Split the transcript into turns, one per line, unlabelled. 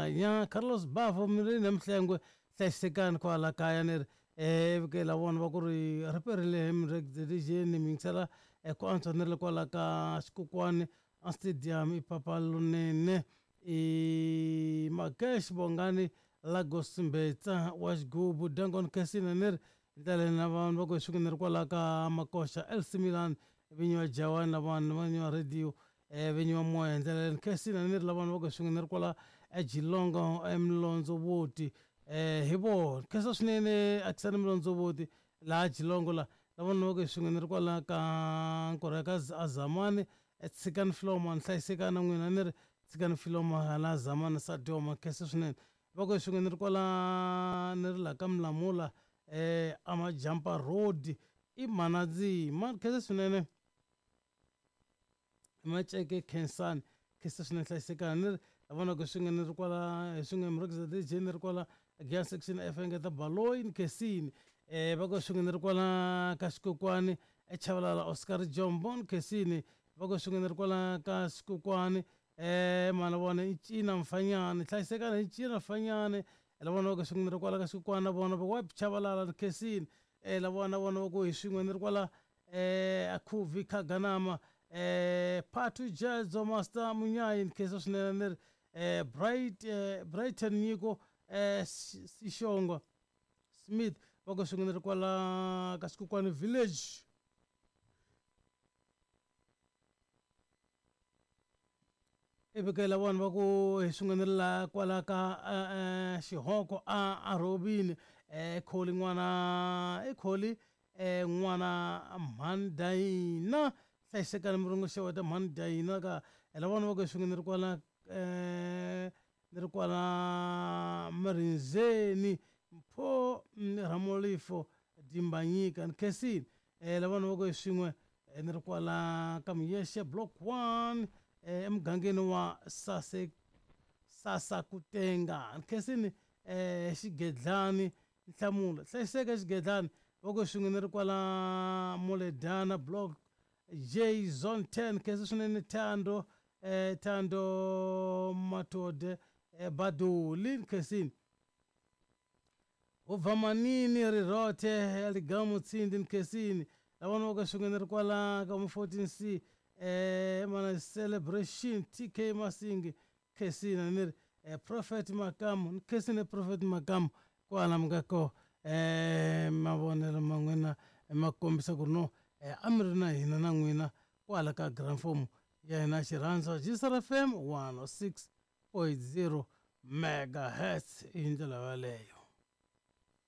Mahlanya Carlos Bafo mi ri na Mhlengwe hlayisekani kwala kaya ni ri ke la vona va ku ri ri perile mi mi yingisela ku antswa ni ri kwala ka xikokwani a stadium i papa lonene i Makesh Bongani Lagos Mbetsa wa xigubu Dangon Casino ni ri ndlela na vanhu va ku hi swin'we ni ri kwala ka Makoxa LC Milan vinyi va Jawani na vanhu vinyi va radio vinyi va moya hi ndlela leyi Casino ni ri la vanhu va ku hi swin'we ni ri kwala eGilongo eMlondzovoti hi vona khensa swinene Akisani Mlondzovoti laha Gilongo la la vanhu va ku hi swin'we ni ri kwala ka nkorho ya ka Azamani tshikani Filoma ni hlayisekani na n'wina ni ri tshikani Filoma hala Zamani Sadioma khensa swinene va ku hi swin'we ni ri kwala ni ri laha ka Mlamula Amajampa Road i Mhanadzima khensa swinene Maceke Khensani khensa swinene hlayisekani ni ri la vona ku swin'we ni ri kwala hi swin'we Murhangeri DJ ni ri kwala Giyani section F engeta Baloyi ni Khensini va ku swin'we ni ri kwala ka Xikokwani eChavalala Oscar Jombo ni Khensini va ku swin'we ni ri kwala ka Xikokwani mana vona i Cina Mfanyane hlayisekani hi Cina Mfanyane la vona va ku swin'we ni ri kwala ka Xikokwani na vona va ku wa Chavalala ni Khensini la vona vona va ku hi swin'we ni ri kwala Akhuvi Khaganama Phathu Jedzo Master Munyayi ni khensa swinene ni ri Bright Brighton Nyiko Sishongo Smith va ku swin'we ni ri kwala ka Xikokwani Village ivi ke la vona va ku hi swin'we ni ri la kwala ka xihoko a a rhovini kholi n'wana i kholi n'wana mhani dayina hlayisekani miringo xeweta mhani dayina ka la vona va ku hi swin'we ni ri kwala ni ri kwala Mirindzeni Mpho Ramolifo Dimbanyika ni khensile la vona va ku hi swin'we ni ri kwala ka Muyexe block 1 emugangeni wa Sase Sasakutenga ni khensile Xigedlani Nhlamulo hlayiseka Xigedlani va ku hi swin'we ni ri kwala Muledana block J zone 10 khensa swinene Thando Thando Matode Baduli khensini ubva manini rirothe ya ligamu tsindi nkhensini la vona va ka swin'we ni ri kwala ka mu 14C mana celebration TK Masingi khensini ni ri Prophet Makamu ni khensini Prophet Makamu kwala mi nga ko mavonelo ma n'wina ma kombisa ku ri no a mi ri na hina na n'wina kwala ka gramfomo ya hina xirhandza Gisar FM 106.0 megahertz hi ndlela yaleyo.